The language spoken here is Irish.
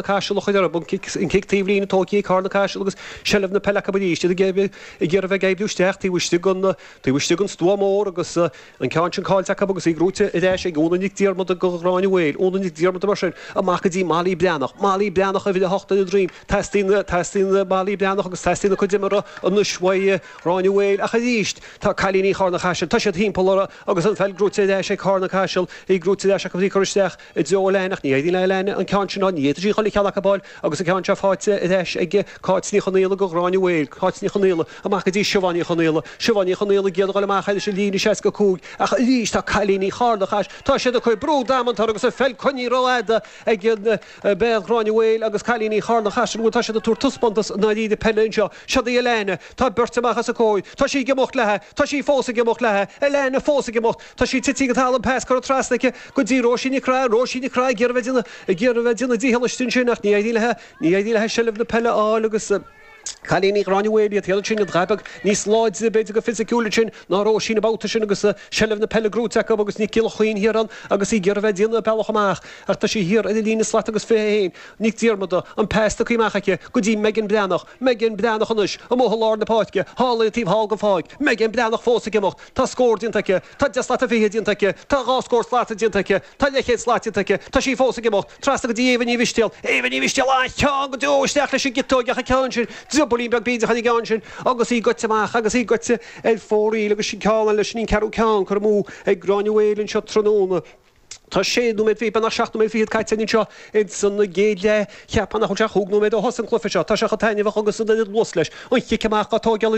Caiseal a chur orthu, an cic taobh líne tógtha ag Carna Caiseal agus seilbh na peile acu arís, iad ag iarraidh a bheith ag oibriú isteach taobh istigh den taobh istigh den stua mór agus an ceann sin caillte acu agus í gnóite ar ais ag Úna Nic Diarmada do Ghráinne Mhaol. Úna Nic Diarmada mar sin amach go dtí Molly Breathnach. Molly Breathnach uimhir 8 ar a droim. Teastaíonn teastaíonn Molly Breathnach agus teastaíonn a cuid imeartha anois uaidh Ghráinne Mhaol ach arís tá cailíní Charna Chaisil, tá siad thimpeall orthu agus an pheil gnóite ar ais ag Carna Caiseal, í gnóite ar ais acu agus í curtha isteach i dtreo Elaine ach ní éiríonn le Elaine an ceann sin a fháil, ní fhéadfaidh sí chuile cheann acu a fháil agus an ceann seo faighte ar ais ag Cáit Ní Chonaola do Ghráinne Mhaol, Cáit Ní Chonaola amach go dtí Siobhán Ní Chonaola, Siobhán Ní Chonaola ag iarraidh a dhul amach thairis an líne 65 ach arís tá cailíní Charna Chaisil, tá siad ag cur brú damanta orthu agus an pheil coinnithe rófhada ag béal Ghráinne Mhaol agus cailíní Charna Chaisil, bhuel tá siad ag tabhairt taispeántas i ndáiríre peile anseo, siod í Elaine, tá beirt amach os a comhair, tá sí ag imeacht léi, tá sí fós ag imeacht léi, Elaine fós ag imeacht. Tá sí tite go talamh, pas curtha trasna aici go dtí Róisín Nic Craith, Róisín Nic Craith ag iarraidh bheith déanamh, ag iarraidh bheith déanamh dícheall istigh ansin ach ní éiríonn léi, ní éiríonn léi seilbh na peile a fháil agus cailíní Ghráinne Mhaol iad féin ansin, iad dhá beag níos láidre b'fhéidir go fisiciúil ansin ná Róisín an babhta sin agus seilbh na peile gnóite acu agus Nic Giolla Chuinn thiar ann agus í ag iarraidh bheith déanamh a bealach amach ach tá sí thiar ar an líne slat agus 21, Nic Diarmada, an pas tugtha amach aici go dtí Megan Breathnach, Megan Breathnach anois amuigh i lár na páirce, thall ar an taobh thall den pháirc, Megan Breathnach fós ag imeacht. Tá scór déanta aici, tá 10 slat 20 déanta aici, tá dhá scór slata déanta aici, tá leathchéad slat déanta aici, tá sí fós ag imeacht, trasna go dtí Éabha Ní Mhistéal, Éabha Ní Mhistéal, an-cheann go deo isteach leis an gciotóig ach an ceann sin, driobaillín beag bídeach ar an gceann sin agus í goite amach agus í goite ar fóraoil agus sin ceann eile, sin an ceathrú ceann curtha amú ag Gráinne Mhaol anseo tráthnóna. Tá sé nóiméad fichead, beagnach 7 nóiméad fichead caite againn anseo ins an gcéad leath. Cheapfá nach bhfuil sé ach chúig nóiméad ó thosaigh an cluiche seo. Tá sé chomh taitneamhach agus an oiread luas leis. An chic amach á tóigeáil.